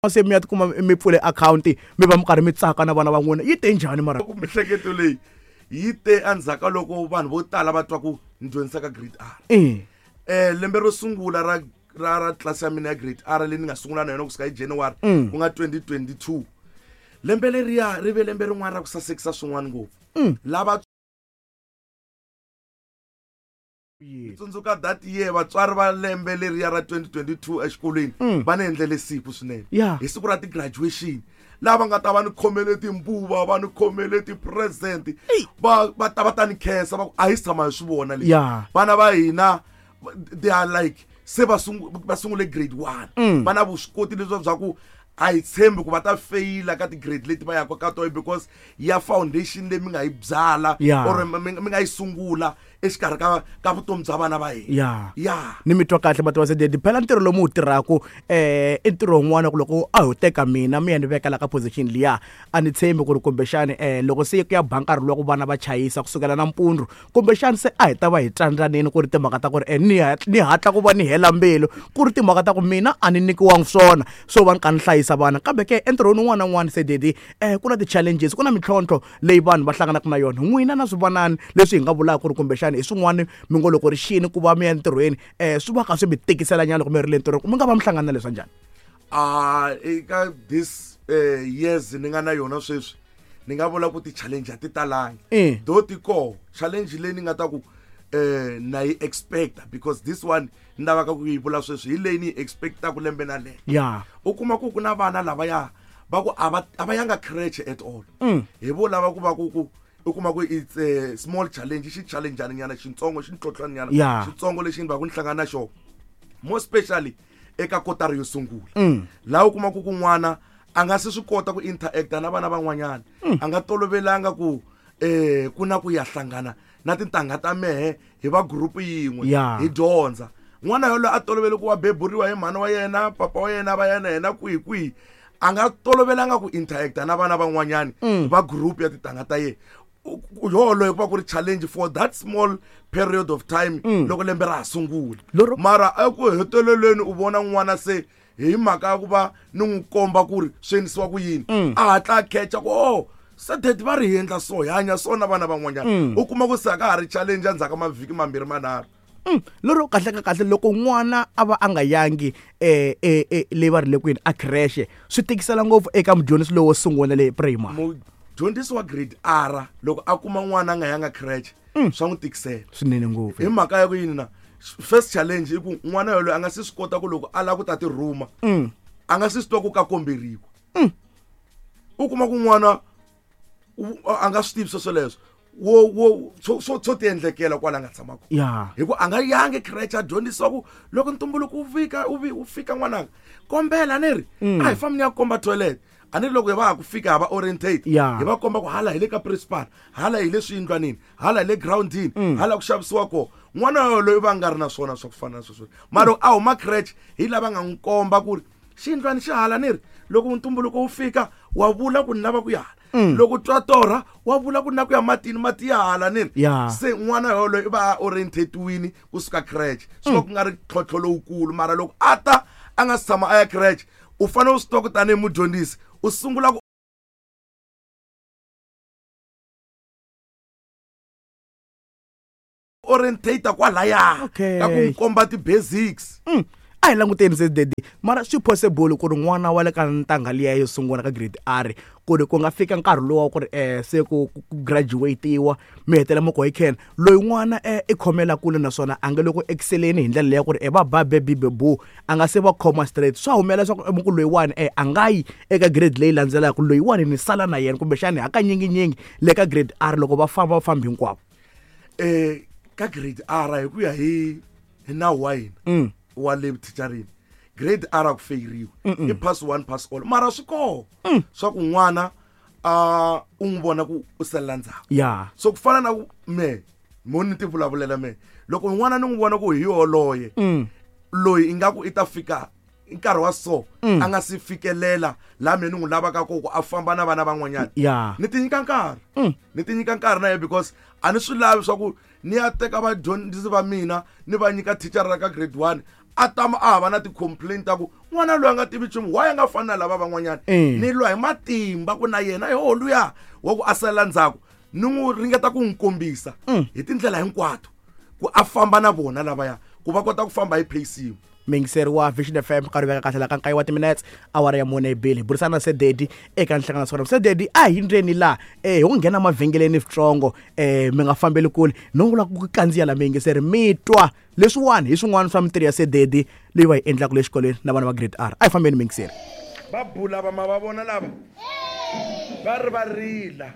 Se mi ya tikuma mi pfule akhawunti, mi va mi karhi mi tsaka na vana va n'wina, yi te njhani mara? Ku mihleketo leyi yi te endzhaku ka loko vanhu vo tala va twa ku ni dyondzisa ka grade R. Lembe ro sungula ra tlilasi ya mina ya grade R leyi ni nga sungula na yona kusuka hi January, ku nga 2022, lembe leriya ri ve lembe rin'wana ra ku sasekisa swin'wana ngopfu. Lava tsundzuka that year, vatswari va lembe leriya ra 2022 exikolweni va ni endlele siku swinene. Hi siku ra ti-graduation, lava nga ta va ni khomele timbuva, va ni khomele ti-present, va ta va ta ni khensa, va ku a hi si tshama hi swi vona leswi. Vana va hina, they are like se va va sungule grade 1, va na vuswikoti lebyi bya ku a hi tshembi ku va ta feyila ka ti-grade leti va yaka ka tona, because ya foundation leyi mi nga yi byala or mi nga yi sungula exikarhi ka vutomi bya vana va hina. Ni mi twa kahle, Mativa Sededi. Phela ntirho lowu mi wu tirhaku i ntirho wun'wana ku loko a ho teka mina mi ya ni veka la ka position liya, a ni tshembi ku ri kumbexani loko se ku ya ba nkarhi lowa ku vana va chayisa kusukela nampundzu, kumbexani se a hi ta va hi tsandzanini ku ri timhaka ta ku ri ni hatla ku va ni hela mbilu, ku ri timhaka ta ku mina a ni nyikiwangi swona swo va ni kha ni hlayisa vana. Kambe ke entirhweni wun'wana na wun'wana, Sededi, ku na ti-challenges, ku na mintlhontlho leyi vanhu va hlanganaka na yona. N'wina na swivanani leswi hi nga vulaka ku ri kumbexani hi swin'wana mi ngo loko ri xini ku va mi ya entirhweni, swi va kha swi mi tikisela nyana loko mi ri le ntirhweni, mi nga va mi hlangana na leswa njhani? Eka this years ni nga na yona sweswi, ni nga vula ku ti-challenge a ti talangi. Though ti koho challenge leyi ni nga ta ku na yi expecta, because this one ni lavaka ku yi vula sweswi hi leyi ni yi expectaku lembe na lembe. U kuma ku ku na vana lavaya va ku a va yanga creche at all. Hi vo lava ku va ku ku u kuma ku it's a small challenge, xi challenge nyana xitsongo, xi ntlhontlhwa nyana xitsongo lexi ni va ku ni hlangana na xona, more especially eka kotara yo sungula, laha u kuma ku ku n'wana a nga se swi kota ku interacta na vana van'wanyana, a nga tolovelanga ku ku na ku ya hlangana na tintangha ta mehe hi va group yin'we hi dyondza. N'wana yoloye a tolovele ku wa beburiwa hi mhani wa yena, papa wa yena, va yena yena kwihi kwihi, a nga tolovelanga ku interacta na vana van'wanyani va group ya tintangha ta yena. Yoloye ku va ku ri challenge for that small period of time loko lembe ra ha sungula. Mara eku heteleleni u vona n'wana se hi mhaka ya ku va ni n'wi komba ku ri swi endlisiwa ku yini, a hatla a khecha ku oh, se daddy va ri hi endla so, hi hanya so na vana van'wanyana. U kuma ku se a ka ha ri challenge endzhaku ka mavhiki mambirhi manharhu. Lero kahle ka kahle, loko n'wana a va a nga yangi leyi va ri le kwini a creche, swi tikisela ngopfu eka mudyondzisi lowo sungula le primary. Mudyondzisi wa grade R loko a kuma n'wana a nga yanga creche, swa n'wi tikisela swinene ngopfu. Hi mhaka ya ku yini na? First challenge i ku n'wana yoloye a nga se swi kota ku loko a lava ku ta ti rhuma, a nga se swi twa ku ka komberiwa. U kuma ku n'wana a nga swi tivi sweswo wo wo swo swo swo ti endlekela kwala nga tshama kona. Hi ku a nga yangi creche a dyondzisiwa ku loko ntumbuluko wu fika, wu fika n'wananga, kombela ni ri a hi fambi ni ya komba toilet. A ni ri loko hi va ha ku fika ha va orientate, hi va komba ku hala hi le ka principal, hala hi le swiyindlwanini, hala hi le groundini, hala ku xavisiwa kona. N'wana yoloye va nga ri na swona swa ku fana na sweswo, mara loko a huma creche hi lava nga n'wi komba ku ri xiyindlwani xi hala, ni ri loko ntumbuluko wu fika wa vula ku ni lava ku ya hala. Loko twa torha wa vula ku na ku ya matini, mati ya hala, ni ri. Se n'wana yoloye i va a orientatiwini kusuka creche, swi va ku nga ri ntlhontlho lowukulu. Mara loko a ta a nga si tshama a ya creche, u fanele u swi tiva ku tanihi mudyondzisi u sungula ku orientate kwalaya ka ku n'wi komba ti-basics. A hi languteni se daddy, mara swi possible ku ri n'wana wa le ka ntangha liya yo sungula ka grade R, ku ri ku nga fika nkarhi lowa ku ri se ku graduate-iwa, mi hetelela mi ku hi khen loyi n'wana i khomela kule, naswona a nga le ku exceleni hi ndlela leya ku ri va ba be bi be bu, a nga se va khoma straight, swa humelela leswaku mi ku loyiwani a nga yi eka grade leyi landzelaka, loyiwani ni sala na yena, kumbexani hakanyinginyingi le ka grade R loko va famba va fambi hinkwavo? Ka grade R, hi ku ya hi nawu wa hina wa le thicharini, grade R a ku feyiriwi, i pass one pass all. Mara swi koho swa ku n'wana a u n'wi vona ku u salela ndzhaku. So ku fana na ku me mo ni ti vulavulela me, loko n'wana ni n'wi vona ku hi yoloye loyi ingaku i ta fika nkarhi wa so a nga si fikelela laha me ni n'wi lavaka ko ku a famba na vana van'wanyana, ni ti nyika nkarhi, ni ti nyika nkarhi na yena, because a ni swi lavi swa ku ni ya teka vadyondzisi va mina ni va nyika thicara ra ka grade 1 a tama a hava na ti-complaint ta ku N'wana loyi a nga tivi nchumu, why a nga fani na lava van'wanyana? Ni lwa hi matimba ku na yena yo luya wa ku a salela ndzhaku, ni n'wi ringeta ku n'wi kombisa hi tindlela hinkwato ku a famba na vona lavaya, ku va kota ku famba hi pace yin'we. Muyingiseri wa Vision FM, nkarhi veka kahle la ka nkaye wa timinetse, awara ya mune bili, hi burisana na Sededi eka nhlangano swona. Sededi, a hi ndzeni laha hi ku nghena mavhengeleni switsongo, mi nga fambeli kule, no vula ku kandziya la muyingiseri mi twa leswiwani hi swin'wana swa mintirho ya Sededi leyi va yi endlaka le xikolweni na vana va grade R. A hi fambeni muyingiseri. Va bula va ma va vona lava va ri va rila.